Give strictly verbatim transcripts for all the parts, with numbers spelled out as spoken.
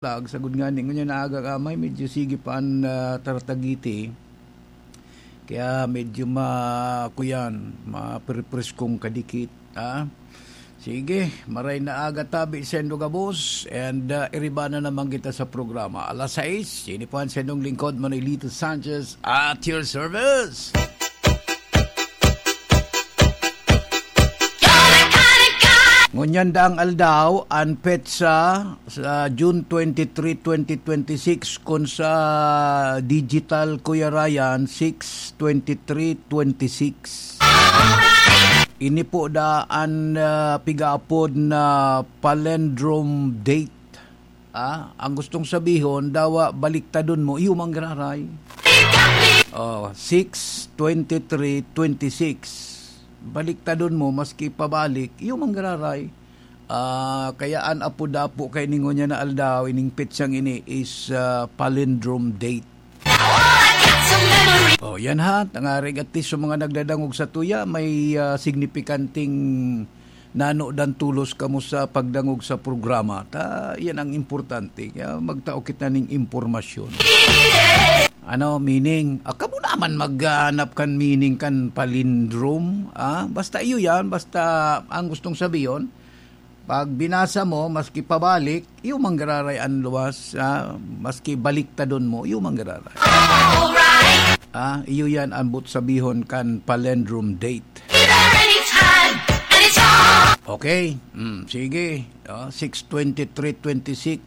Lag, sagod nga ni, ngunyan na aga ka, may medyo sige pa an, ah, taratagiti. Kaya medyo ma-, kuyan, maprepres kong kadikit, ah. Sige, maray na aga tabi sendo gabos, and, ah, iriba na naman kita sa programa. Alas sais, ini po an sendong lingkod, Manolito Sanchez, at your service. Ngunyan daang aldaw, an petsa sa June twenty-three, twenty twenty-six, kun sa digital, Kuya Ryan, six twenty-three twenty-six. Ini po da an, ah, pigaapod na palindrome date. Ah, ang gustong sabihon, dawa baliktadon mo, iyo manggararay. Oh, six twenty-three twenty-six. Baliktadon mo, maski pabalik, iyo manggararay. Ah, kaya an apo dapo kay ningon niya na aldaw, ining petsang ini is, ah, palindrome date. Oh, yan ha. Tangarig at least sa mga nagdadangog sa tuya, may, ah, signipikanting nano dan tulos kamo sa pagdangog sa programa. Ta, yan ang importante. Kaya magtao kita ning impormasyon. Ano, meaning? Ah, kamo naman maghanap kan meaning kan palindrome, ah? Basta iyo yan, basta ang gustong sabihin, pag binasa mo, maski pabalik, iyo manggararay an luwas, ah, maski baliktadon mo, iyo manggararay. Alright! Ah, iyo yan ang but sabihon kan palindrome date. Either and it's hard, and it's hard. Okay, mm, sige. Ah, six twenty-three twenty-six,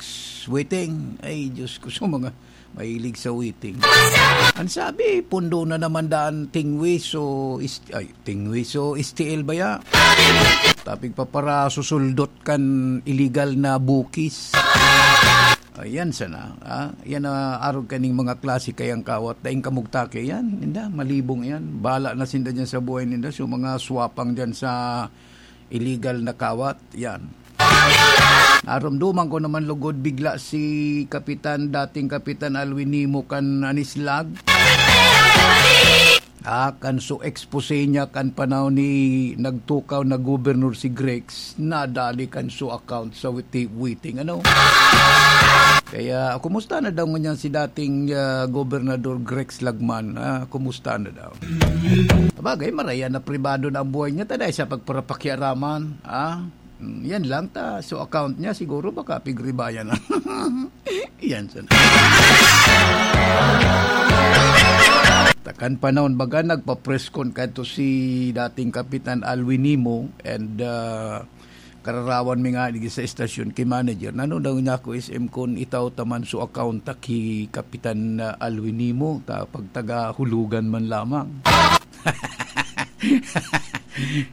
waiting. Ay, Diyos ko, sa mga mahilig sa waiting. Ang sabi, pundo na naman daan tingwi, so, ist-, ay, tingwi, so, S T L ba ya? Tapig papara susuldot kan illegal na bukis. Ayan sana, ah. Yan, ah, arog kaning mga klase kayang kawat. Daing kamugtake yan, ninda, malibong yan. Bala na sinda dyan sa buhay ninda. So, mga swapang dyan sa illegal na kawat, yan. Narumduman ko naman lugod bigla si Kapitan, dating Kapitan Alwin Nimo kan Anislag. Ah, kan su expose niya kan panahon ni nagtukaw na gobernador si Grex, nadali kan su account sa witi-, waiting, ano? Kaya, kumusta na daw ngunyan si dating, ah, Gobernador Grex Lagman? Ah, kumusta na daw? Sabagay, marayan na pribado na ang buhay niya, ta dai sa pagparapakiaraman, ah? Mm, yan lang ta. So, account niya, siguro baka pigribayan na. Yan sana. Takan panahon, baga nagpa-press con kadto si dating Kapitan Alwin Nimo and, ah, kararawan mi nga digdi sa estasyon ki manager. Nano daw niya ako, S M, kun itaw ta man so account ta ki Kapitan, ah, Alwin Nimo, ta pagtagahulugan man lamang.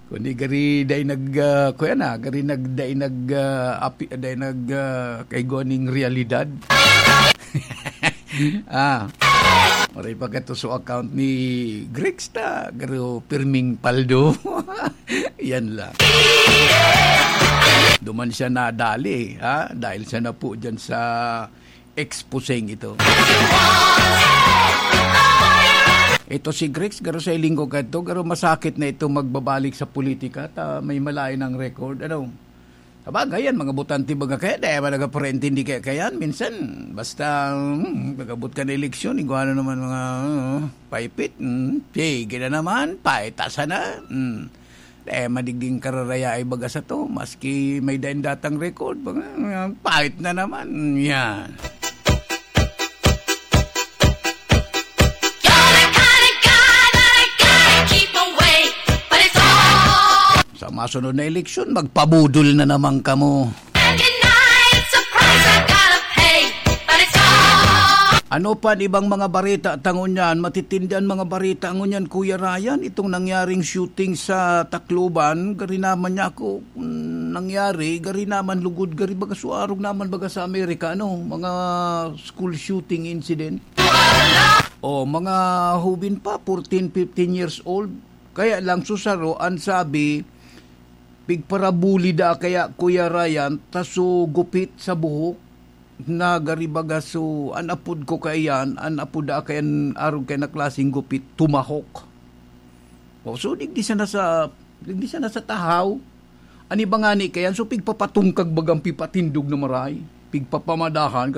Kundi gari dai nag, ah, kuya na, gari nag, dai nag, ah, api, dai nag, ah, kaigwa ning realidad. Ah. Maray pa kato so account ni Grex ta, garo pirming paldo. Yan lang. Duman siya nadali, ha? Dahil siya na po dyan sa exposeng ito. Ito si Grex, garo sa linggo kadto, garo masakit na ito magbabalik sa politika, ta may malain ang record, ano? Sabagay, yan, mga botante baga kaya, dai man nagapareintindi kaya, kaya minsan, basta, hmm, pag-abot ka na eleksyon, igwa na naman mga, uh, paipit, hmm, sige na naman, paitasan na, hmm. Dai madigding kararaya ay baga sa to, maski may dain datang record, baga, hmm, pait na naman, yan. You're the kind of guy that I can't keep away, but it's all Sa masunod na eleksyon, magpabudol na naman kamo. Every night, surprise, I gotta pay, but it's all Ano pa an ibang mga bareta ta ngunyan? Matitindi an mga bareta ngunyan, Kuya Ryan. Itong nangyaring shooting sa Tacloban, gari naman niya ako, mm, nangyari, gari naman lugod, gari baga suarog naman baga sa Amerika, ano, mga school shooting incident. O, mga hubin pa, fourteen, fifteen years old. Kaya lang, susaro, ang sabi, pigparabuli da kaya, Kuya Ryan, ta so gupit sa buhok, na gari baga so, an apod ko kaiyan, an apod da kaiyan, arog kaiyan na klaseng gupit, tumahok. O, so, digdi sana sa, digdi sana sa tahaw. An iba ngani kaiyan, so, pigpapatungkag bagang pipatindog na maray. pigpapamadahan